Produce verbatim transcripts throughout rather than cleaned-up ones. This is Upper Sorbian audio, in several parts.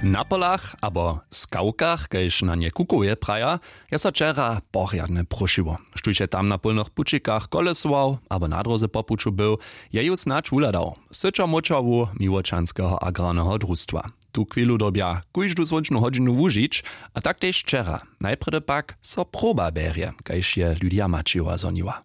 Na polach abo skałkach, kaž na nje kukowje praja, je so wčera porjadnje próšiło. Štóž je tam na pólnych pućikach kolesował abo na dróze po puću był, je ju snadź wuhladał. Syćomóčawu miłočanskeho agrarneho drustwa. Tu chwilu dyrbja kóždu słónčnu hodźinu wužić, a tak tež wčera. Najprjedy pak so proba bjerje, kaž je Lydia Maćijowa zhoniła.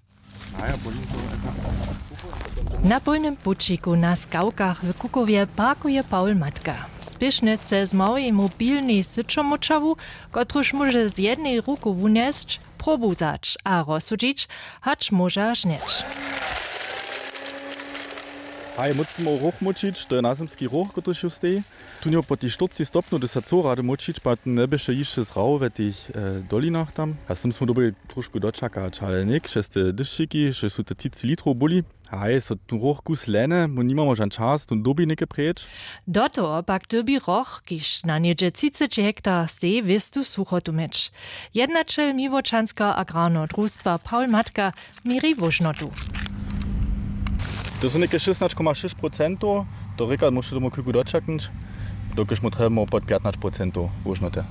Na pólnym pućiku na skałkach w Kukowje parkuje Paul Matka. Spěšnje chce z małej mobilnej syćomóčawu, kotruž móže z jednej ruku wunjesć, probu wzać a rozsudźić, hač móža žnjeć. Haj, mócmy ruch móčić, to je nazymski ruch, kotryž ju steji. Tu njeho po tej štyrcci stopnjow, hdyž sa cyło rady móčić, pak njeběše hišće zrawo we tych dolinach tam. A z tym smy dyrbili trošku dočakać, ale něk, šeste dyšćiki, šež su te třiceći litrow byli. Haj, so tu roch kus lene, my nimamo žan čas, tu dyrbi něke preč. Do toho pak dyrbi roch, kiž na něhdźe třiceći hektar steji, wěstu suchotu měć. Jednaćel miłočanskeho agrarneho drustwa Paul Matka měri wóžnotu. To su něke šěsnaće koma šěsć procentow, to rěka, móžeš tomu chwilku dočaknyć, dokelž mu trjebamo pod pjatnaće procentow wóžnoty.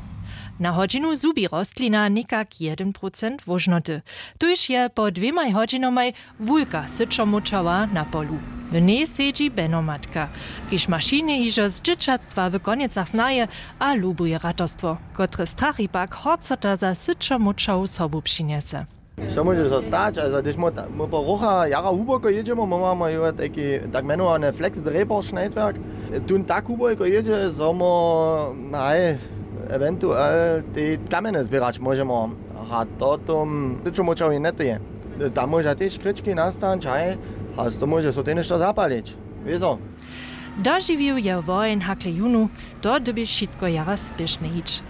Na hodźinu zhubi rostlina někak jedyn procent wóžnoty. Tuž je po dwěmaj hodźinamaj wulka syćomóčała na polu. W njej sedźi benomatka, kiž mašiny hižo z dźěćatstwa w Konjecach znaje a lubuje ratarstwo, kotrež strachi pak horcota za syćomóčału sobu přinjese. Što móže so stać? Also, hdyž my ta-, my po rucha jara hłuboko jědźemy, my mamy jo tajki tak mjenowane Flex Draper Schneidwerk. Tón tak hłuboko jědźe, zo my, haj, ewentuel te kamjeny zběrać móžemy. A to tom syćomóčałej njetyje. Tam móža tež kryčki nastać, haj, a to móže so tež něšto zapalić. Wězo. Dožiwił je woheń hakle jónu, to dyrbi wšitko jara spěšnje hić.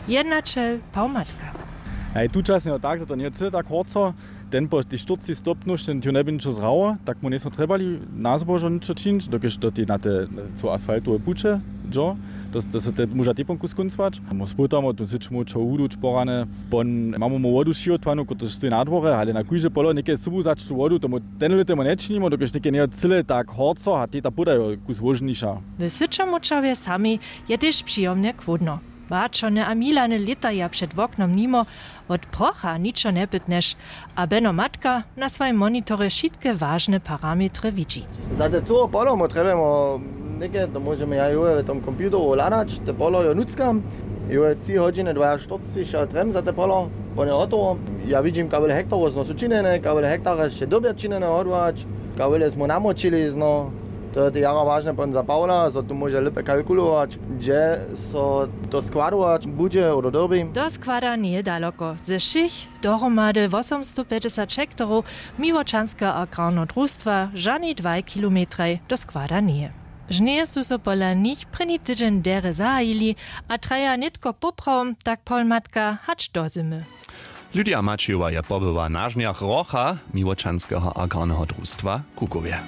Jednaćel Paul Matka. Haj, tučasnje jo tak, zo to njeje cyle tak horco. Ten po tej štyrcci stopnjow, ten ti jo njeby ničo zrało, tak mu njesmo trjebali na zbožo ničo čińć, dokelž do tej, na te, co asfaltowe puće dźo, to, to so te móža tepom kus kóncować. Mu spytamo tu syćomóčawu, hudu čporane, pon, mamy mu wodu přihotowanu, kotryž stoji na dworje, ale na kóžde polo něke sobu wzać tu wodu, tomu ten lět temu nječinimo, dokelž něke njejo cyle tak horco a teta podajo kus wóžniša. W syćomóčałje sami je tež přijomnje chłódno. Baćony a milany lětaja před woknom nimo, wot procha ničo njepytnješ, a beno matka na swojim monitorje wšitke wažne parametry widźi. Za te cyło polo my trjebamo něke, to móžemy ja jo w tom computeru hladać, te polo jo nutřkam. Jo tři hodźiny dwajaštyrcci, ja trjebam za te polo, pon je hotowo. Ja widźim, kawle hektarow zno su činjene, kawle hektara sće dyrbja činjene hodłać, kawle smy namočili zno. To je te jara wažne pon za Paula, zo tu móže lěpje kalkulować, hdźe so to składować budźe, odo dyrbi. Do składa njeje daloko. Ze wšěch dohromady wosomstowpjećdźesat hektarow miłočanskeho agrarneho drustwa žani dwaj kilometraj do składa njeje. Žnjeje su so pola nich prěni tydźeń derje zahajili a traja nětko poprawom, tak Paul Matka, hač do zymy. Lydia Maćijowa je pobyła na žnjach rocha miłočanskeho agrarneho drustwa w Kukowje.